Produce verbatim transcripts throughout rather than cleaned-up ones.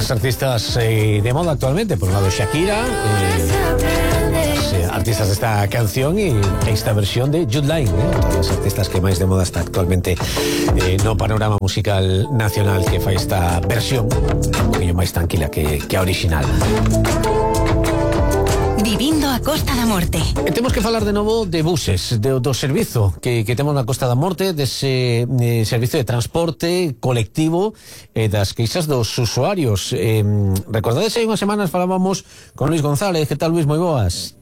las artistas eh, de moda actualmente. Por un lado Shakira, eh, las eh, artistas de esta canción y esta versión de Jude Line, eh, una de las artistas que máis de moda está actualmente eh, no panorama musical nacional, que fai esta versión un poquinho máis tranquila que, que a original. Vivindo a Costa da Morte. E temos que falar de novo de buses, de, do servizo que, que temos na Costa da Morte, dese de servizo de transporte colectivo e eh, das queixas dos usuarios. Eh, recordades hai unhas semanas falábamos con Luis González. Que tal, Luis? Moi boas.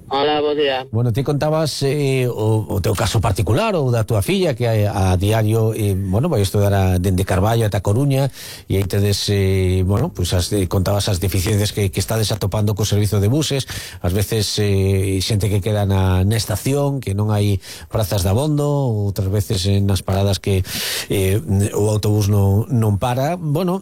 Hola, bo día. Bueno, ti contabas eh, o, o teu caso particular ou da tua filla que a, a diario eh, bueno, vai estudar a, dende Carballo ata Coruña e aí tedes eh, bueno, pues as, eh, contabas as deficiencias que, que estades atopando co servizo de buses, ás veces eh, xente que queda na, na estación, que non hai prazas de abondo, outras veces eh, nas paradas que eh, o autobús non, non para. Bueno,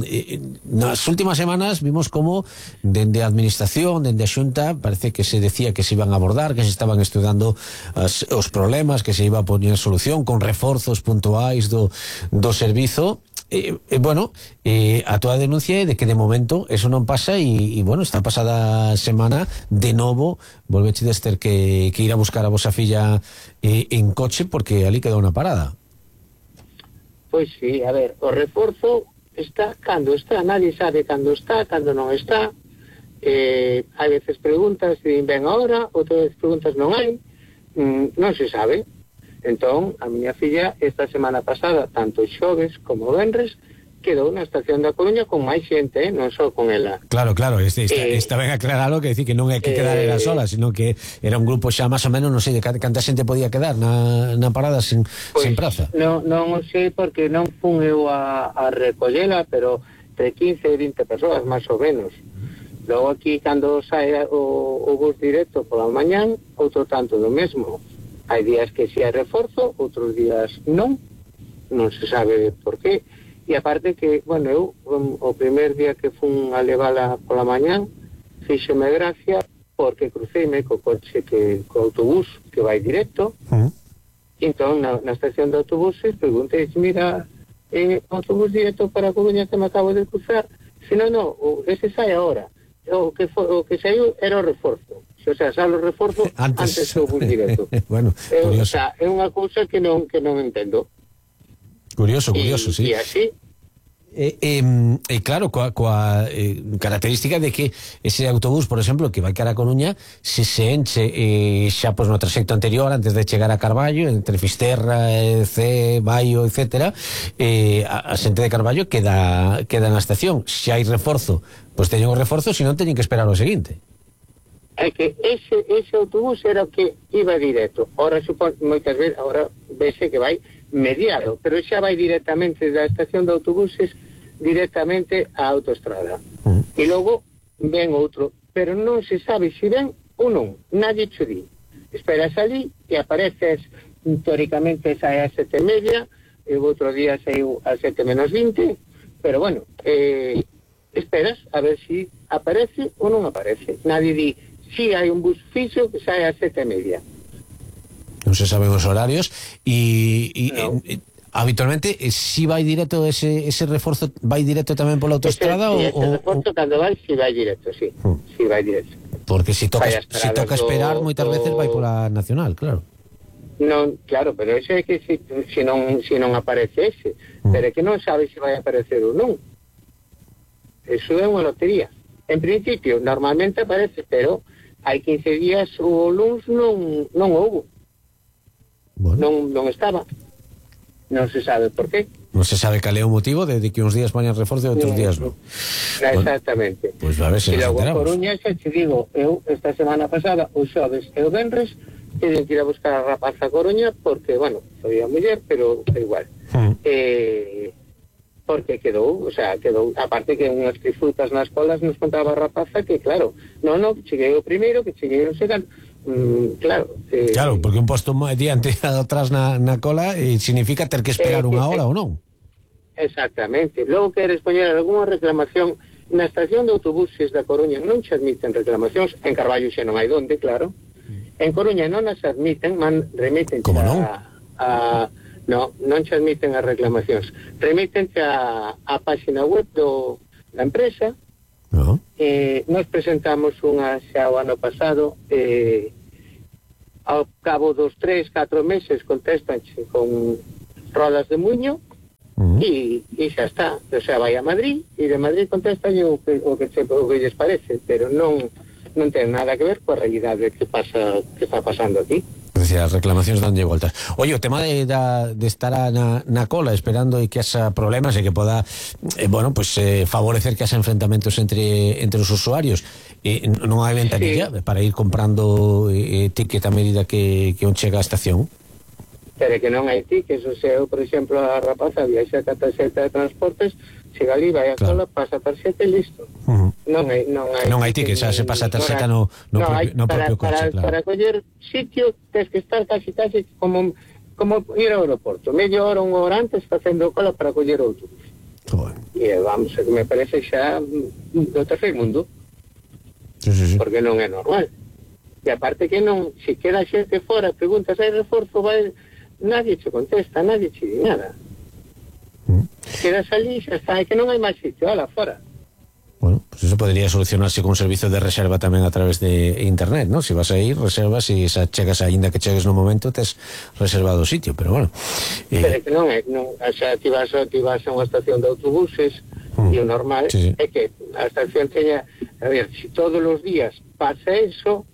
eh, nas últimas semanas vimos como dende a administración, dende a Xunta, parece que se decía que se iban a abordar, que se estaban estudando as, os problemas, que se iba a poñer solución con reforzos puntuais do, do servizo. E, e bueno, e, a túa denuncia é de que de momento eso non pasa e, e bueno, esta pasada semana de novo volvechedes ter que, que ir a buscar a vosa filla e, en coche porque ali quedou unha parada. Pois sí, a ver, o reforzo está cando está, nadie sabe cando está, cando non está. Eh, hai veces preguntas se ven ahora, outras veces preguntas non hai, mm, non se sabe. Entón, a miña filla esta semana pasada, tanto xoves como venres, quedou na estación da Coruña con máis xente, eh? Non só con ela. Claro, claro, este, esta, eh, esta ben aclaralo, que decir que non é que quedar eh, era sola, sino que era un grupo xa máis ou menos, non sei de canta xente podía quedar na, na parada sin, pues, sin praza. Non, non o sei porque non fun eu a, a recollela, pero entre quince e vinte persoas máis ou menos. Logo aquí, cando sae o, o bus directo pola mañán, outro tanto do mesmo. Hai días que si hai reforzo, outros días non, non se sabe por qué. E aparte que, bueno, eu o primer día que fun a levala pola mañán, fíxeme gracia porque cruceime co coche, que co autobús que vai directo. Uh-huh. E entón, na, na estación de autobuses, preguntei, mira, eh, autobús directo para Coruña que me acabo de cruzar? Se non, non, ese sai agora. O que, for, o que saiu era o reforzo. O sea, sale o reforzo antes, antes do bus directo. Bueno, é, curioso. O sea, é unha cousa que non que non entendo. Curioso, curioso, y, sí. E así. E eh, eh, eh, claro, coa, coa eh, característica de que ese autobús, por exemplo, que vai cara a Coruña, se se enche eh, xa pois no trayecto anterior, antes de chegar a Carballo, entre Fisterra, eh, C, Baio, etcétera, eh, a, a xente de Carballo queda queda na estación. Se hai reforzo, pois teñen o reforzo, se non teñen que esperar o seguinte. É que ese, ese autobús era o que iba directo. Ora, supón, moitas veces, ahora vese que vai mediado, pero xa vai directamente da estación de autobuses directamente á autoestrada. Uh-huh. E logo ven outro, pero non se sabe se ven ou non, nadie cho di. Esperas ali e apareces, teóricamente sae a sete e media, e o outro día saiu a sete menos vinte, pero bueno, eh, esperas a ver se si aparece ou non aparece. Nadie di, si hai un bus fixo que sae a sete e media. Non se saben os horarios e, e, no. e habitualmente si vai directo ese, ese reforzo vai directo tamén pola autoestrada ese, ou, ese reforzo o... cando vai si vai directo, si, hmm. si vai directo. Porque si toca, si toca esperar do, moitas do... veces vai pola nacional, claro. Non, claro, pero eso é que si, si, non, si non aparece ese, hmm. pero é que non sabe se vai aparecer ou non. Eso é unha lotería. En principio, normalmente aparece, pero hai quince días o luns non, non houbo. Bueno. Non, non estaba. Non se sabe por qué. Non se sabe cal é o motivo de, de que uns días vayan reforzo e outros no, días non. Exactamente. Pois pues a ver se nos enteramos. E logo Coruña, xa te digo, eu esta semana pasada, o xoves e o venres, teñen que ir a buscar a rapaza a Coruña porque, bueno, soy a muller, pero é igual. Hmm. Eh, porque quedou, o sea, quedou, aparte que unhas disfrutas nas colas nos contaba a rapaza que, claro, non, non, cheguei o primeiro, que cheguei o segundo. Mm, claro, eh, claro, porque un posto diante e atrás na, na cola eh, significa ter que esperar eh, unha hora eh, ou non. Exactamente. Logo queres poñer algunha reclamación na estación de autobuses da Coruña, non se admiten reclamacións. En Carballo xa non hai donde, claro. En Coruña non as admiten, man, remiten como non? A, a, no, non se admiten as reclamacións. Remiten a, a página web do na empresa. No. Eh, nos presentamos unha xa o ano pasado, eh, ao cabo dos tres, catro meses contestan con rodas de muño. Uh-huh. e, e xa está, o sea, vai a Madrid e de Madrid contestan o que, o que, se, o que lles parece, pero non non ten nada que ver coa realidade que pasa que está pasando aquí. Es decir, as reclamacións danlle voltas. Oye, o tema de, da, de estar na, na cola esperando e que haya problemas e que poda eh, bueno, pues eh, favorecer que haya enfrentamentos entre entre os usuarios, eh, non hai ventanilla sí. para ir comprando eh, ticket a medida que, que un chega á estación? Pero que non hai tickets, o sea, eu, por exemplo, a rapaza viaxa ca tarxeta de transportes, chega ali, vai a claro. cola, pasa a tarxeta e listo. Uh-huh. Non hai non hai, non hai tickets, xa se pasa a tarxeta no, no, no, propio, no para, propio coche, para, claro. Para coller sitio, tens que estar casi casi como, como ir ao aeroporto, media hora, unha hora antes, facendo cola para coller outro. Bueno. E vamos, me parece xa do terceiro mundo. Sí, sí, sí. Porque non é normal. E aparte que non, se queda xente fora, preguntas, hai reforzo, vai... nadie te contesta, nadie te di nada. Mm. Quedas ali, xa está, é que non hai máis sitio, ala, fora. Bueno, pues eso podría solucionarse con servicios de reserva tamén a través de internet, ¿no? Si vas a ir, reservas e xa chegas, aínda que chegues no momento, tes reservado o sitio, pero bueno. Eh... Pero que non é, non, xa ti vas, ti vas a unha estación de autobuses mm. e o normal sí, sí. é que a estación teña, a ver, si todos os días pasa eso,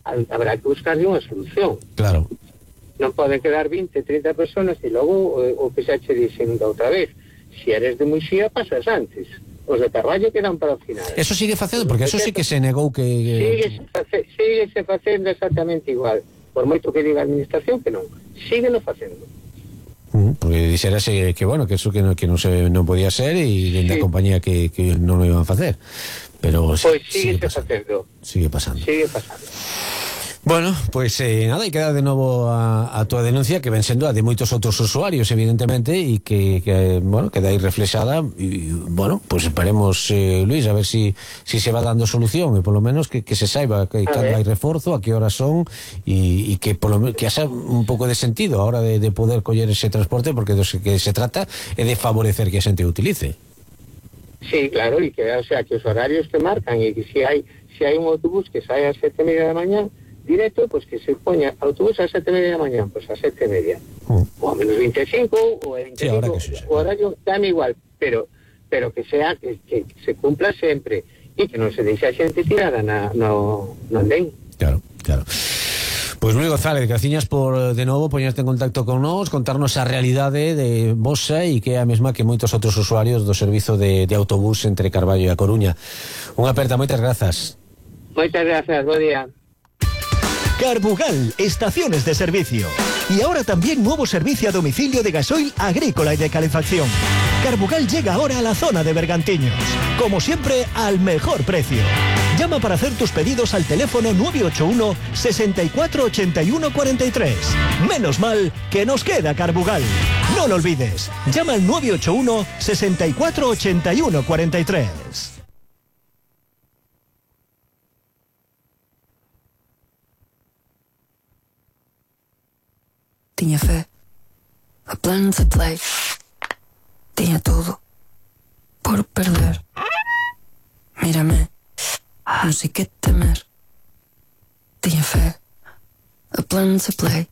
habrá que buscarle unha solución. Claro. Non poden quedar vinte, trinta personas e logo o, o que xa che dixen da outra vez. Si eres de Muxía, pasas antes. Os de Carballo quedan para o final. Eso sigue facendo, porque eso sí que se negou que... Sigue, face, sigue se facendo exactamente igual. Por moito que diga a administración que non. Sígueno facendo. Uh, porque dixerase que, bueno, que eso que non, que non, se, non podía ser e dende sí. a compañía que, que non o iban a facer. Pero pois pues sigue, sigue facendo. Sigue pasando. Sigue pasando. Bueno, pues eh, nada, e queda de novo a, a tua denuncia, que ven sendo a de moitos outros usuarios, evidentemente, e que, que bueno, queda aí reflexada, e, bueno, pues esperemos, eh, Luis, a ver si, si se va dando solución, e polo menos que, que se saiba que cando hai reforzo, a que horas son, e, e que polo menos que haxa un pouco de sentido a hora de, de poder coller ese transporte, porque do que se trata é de favorecer que a xente o utilice. Sí, claro, e que, o sea, que os horarios que marcan, e que si hai, si hai un autobús que sae a sete e media da mañá, directo, pues que se poña autobús a sete e media da mañá, pues a sete e media, mm. o a menos veinticinco, o a veinticinco, sí, sí, o horario, dame igual, pero pero que sea, que, que se cumpla sempre, e que non se deixe a xente tirada na, no, no andén. Claro, claro. Pois Luis González, graciñas por de novo poñerte en contacto con nós, contarnos a realidade de vosa e que é a mesma que moitos outros usuarios do servizo de, de autobús entre Carballo e A Coruña. Unha aperta, moitas grazas. Moitas grazas, bo día. Carbugal, estaciones de servicio. Y ahora también nuevo servicio a domicilio de gasoil agrícola y de calefacción. Carbugal llega ahora a la zona de Bergantiños. Como siempre, al mejor precio. Llama para hacer tus pedidos al teléfono nueve ocho uno, sesenta y cuatro, ochenta y uno, cuarenta y tres. Menos mal que nos queda Carbugal. No lo olvides. Llama al nueve ocho uno, sesenta y cuatro, ochenta y uno, cuarenta y tres. Tinha fé, a planos a play, tinha tudo por perder. Mírame, não sei que temer. Tinha fé, a planos a play.